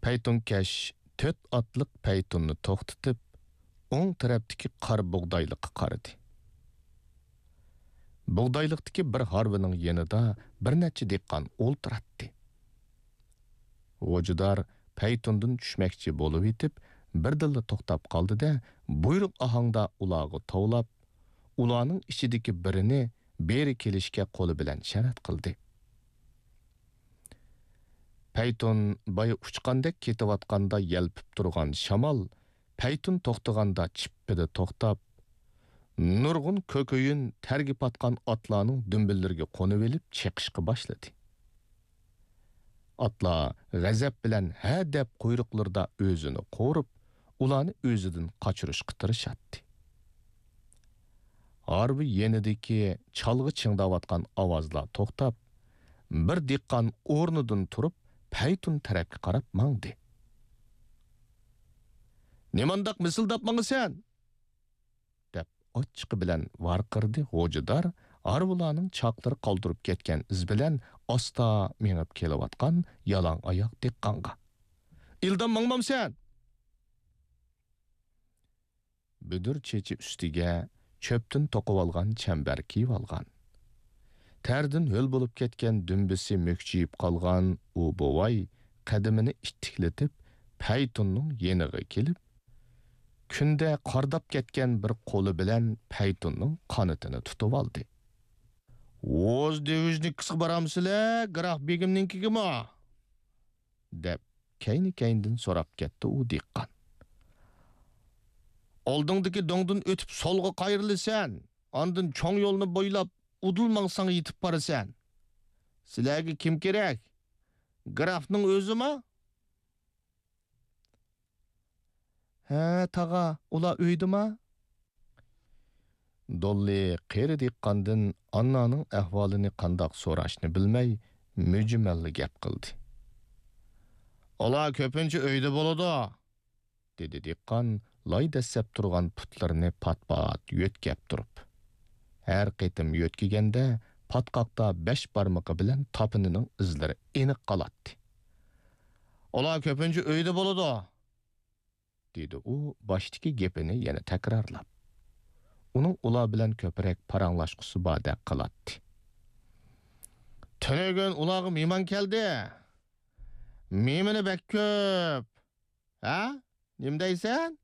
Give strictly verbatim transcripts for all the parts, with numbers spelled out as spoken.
پەيتۇنكەش تۆت ئاتلىق پەيتۇننى توختىتىپ، ئوڭ تەرەپتىكى قارا بۇغدايلىققا قارىدى. بۇغدايلىقتىكى بىر ھارۋىنىڭ يېنىدا بىر نەچچە دېھقان ئولتۇراتتى. غوجىدار پەيتۇندىن چۈشمەكچى بولۇۋېتىپ، بىردىنلا توختاپ قالدى-دە، بۇيرۇق ئاھاڭدا ئۇلارغا توۋلاپ، ئۇلارنىڭ ئىچىدىكى بىرىنى بېرى كېلىشكە قولى بىلەن شەرەت قىلدى. پەيتۇن بايا ئۇچقاندەك كېتىۋاتقاندا يەلپۈپ تۇرغان شامال پەيتۇن توختىغاندا چىپپىدە توختاپ، نۇرغۇن كۆكۈيۈن تەرگە پاتقان ئاتلارنىڭ دۈمبىلىرىگە قونۇۋېلىپ چېقىشقا باشلىدى. ئاتلار غەزەپ بىلەن ھە دەپ قۇيرۇقلىرىدا ئۆزىنى قورۇپ، ئۇلارنى ئۆزىدىن قاچۇرۇشقا تىرىشاتتى. ھارۋا يېنىدىكى چالغا چىڭداۋاتقان ئاۋازلار توختاپ، بىر دېھقان ئورنىدىن تۇرۇپ، پەيتۇن تەرەپكە قاراپ ماڭدى. «نېمانداق مىسىلداپ ماڭىسەن؟» دەپ ئاچچىقى بىلەن ۋارقىرىدى غوجىدار، ھارۋىلارنىڭ چاقلىرى قالدۇرۇپ كەتكەن ئىز بىلەن ئاستا مېڭىپ كېلىۋاتقان يالاڭ ئاياق دېھقانغا. «ئىلدام ماڭمامسەن؟» بۈدۈر چېچى ئۈستىگە چۆپتىن توقۇۋالغان چەمبەر كىيىۋالغان. تەردىن ھۆل بولۇپ كەتكەن دۈمبىسى مۈكچىيىپ قالغان ئۇ بوۋاي قەدىمىنى ئىتتىكلىتىپ، پەيتۇننىڭ يېنىغا كېلىپ، كۈندە قارداپ كەتكەن بىر قولى بىلەن پەيتۇننىڭ قانىتىنى تۇتۇۋالدى. «ئوز دېۋىژنىكىسىغا بارامسىلەر، گراف بېگىمنىڭكىگىمۇ؟» دەپ، كەينى-كەينىدىن سوراپ كەتتى ئۇ دېھقان. «ئالدىڭدىكى دۆڭدىن ئۆتۈپ سولغا قايرىلىسەن، ئاندىن چوڭ يولنى بويلاپ ئۇدۇل ماڭساڭ يېتىپ بارىسەن. سىلەرگە كىم كېرەك؟ گرافنىڭ ئۆزىما؟» «ھە، تاغا، ئۇلار ئۆيدىما؟» دوللى قېرى دېھقاندىن ئاننانىڭ ئەھۋالىنى قانداق سوراشنى بىلمەي، مۈجمەللا گەپ قىلدى. «ئۇلار كۆپىنچە ئۆيدە بولىدۇ»، دېدى دېھقان لاي دەسسەپ تۇرغان پۇتلىرىنى پات-پات يۆتكەپ تۇرۇپ. ھەر قېتىم يۆتكىگەندە، پاتقاقتا بەش بارمىقى بىلەن تاپىنىنىڭ ئىزلىرى ئېنىق قالاتتى. «ئۇلار كۆپىنچە ئۆيدە بولىدۇ»، دېدى ئۇ باشتىكى گېپىنى يەنە تەكرارلاپ. ئۇنىڭ ئۇلار بىلەن كۆپرەك پاراڭلاشقۇسى باردەك قىلاتتى. «تۈنۈگۈن ئۇلارغا مېھمان كەلدى. مېھمىنى بەك كۆپ. ھە؟ نېمە دەيسەن؟»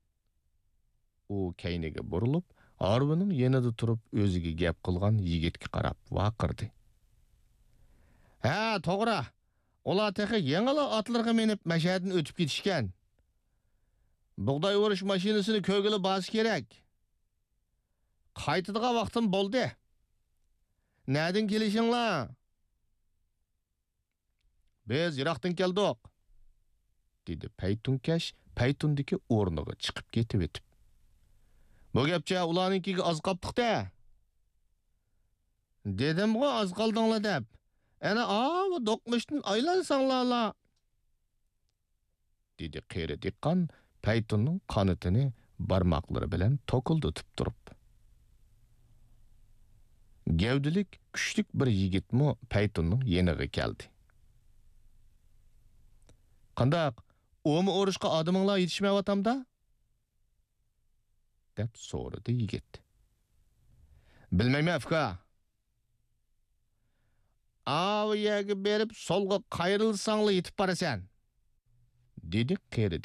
ئۇ كەينىگە بۇرۇلۇپ، ھارۋىنىڭ يېنىدا تۇرۇپ ئۆزىگە گەپ قىلغان يىگىتكە قاراپ ۋارقىرىدى. «ھە، توغرا. ئۇلار تېخى يېڭىلا ئاتلىرىغا مىنىپ مەشەدىن ئۆتۈپ كېتىشكەن. بۇغداي ئورۇش ماشىنىسىنى كۆرگىلى بارسا كېرەك. قايتىدىغان ۋاقتىم بولدى. نەدىن كېلىشىڭلار؟» «بىز يىراقتىن كەلدۇق»، دېدى پەيتۇنكەش پەيتۇندىكى ئورنىغا چىقىپ كېتىۋېتىپ. «بۇ گەپچە ئۇلارنىڭكىگە ئاز قاپتۇق-دە.» «دېدىمغۇ ئاز قالدىڭلار دەپ. ئەنە ئاۋۇ دوقمۇشتىن ئايلانساڭلارلا.» دېدى قېرى دېھقان پەيتۇننىڭ قانىتىنى بارماقلىرى بىلەن توكۇلدىتىپ تۇرۇپ. گەۋدىلىك، كۈچلۈك بىر يىگىتمۇ پەيتۇننىڭ يېنىغا كەلدى. «قانداق، ئۇمۇ ئۇرۇشقا ئادىمىڭلار يېتىشمەيۋاتامدا؟» دەپ سورىدى يىگىت. «بىلمەيمەن، ئۇكا.» «ئاۋۇ يەرگە بېرىپ، سولغا قايرىلساڭلا يېتىپ بارىسەن.» دېدى قېرى